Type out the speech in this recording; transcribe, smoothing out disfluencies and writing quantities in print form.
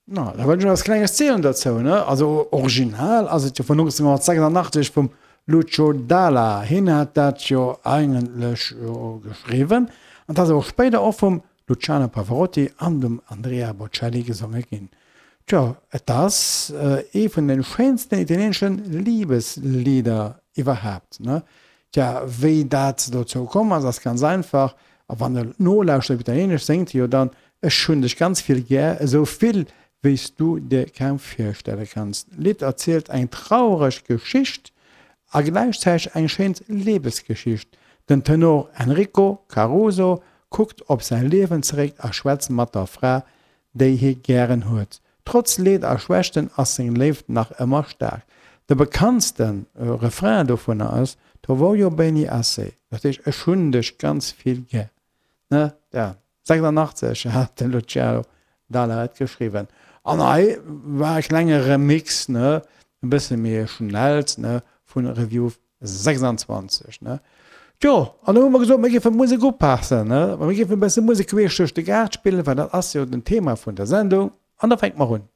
Na, da wëll ech eppes Klenges zielen dozou, ne? Also original ass et jo vun 1986 vum Lucio Dalla. Hien hat dat jo eigentlech jo geschriwwen an et ass awer spéider och vum Luciano Pavarotti an dem Andrea Bocelli gesonge ginn. Tjo, et ass ee vun de schéinsten italieenesche Liebeslieder iwwerhaapt, ne? Tja, wéi dat dozou komm ass, ass ganz einfach, a wann der nolauschtert op Italieenesch, séngt hie jo dann, Ech hunn dech ganz vill gär, esou vill, wéi s du dir kaum virstelle kanns. D'Lidd erzielt eng traureg Geschicht a gläichzäiteg eng schéin Libesgeschicht. Den Tenor Enrico Caruso kuckt op säi Liewen zeréck a schwätzt mat der Fra, déi hie gären huet. Trotz Leed a Schwächten ass seng Léift nach ëmmer staark. De bekanntste Refrain dovunner ass, Ti voglio bene assai, dat heescht Ech hunn dech ganz vill gär. Ne? Ja, 86 hat de Luciano Dalla et geschriwwen. An hei war e klenge Remix, ne, e bësse méi e schnellt, ne, vun Review 26, ne. Tjo, an da hu mer gesot, mir géife Musek upassen, ne, mir géifen e bësse Musek queesch duerch de Gaart spillen, well dat ass jo den Thema vun der Sendung. An da fänke mer un.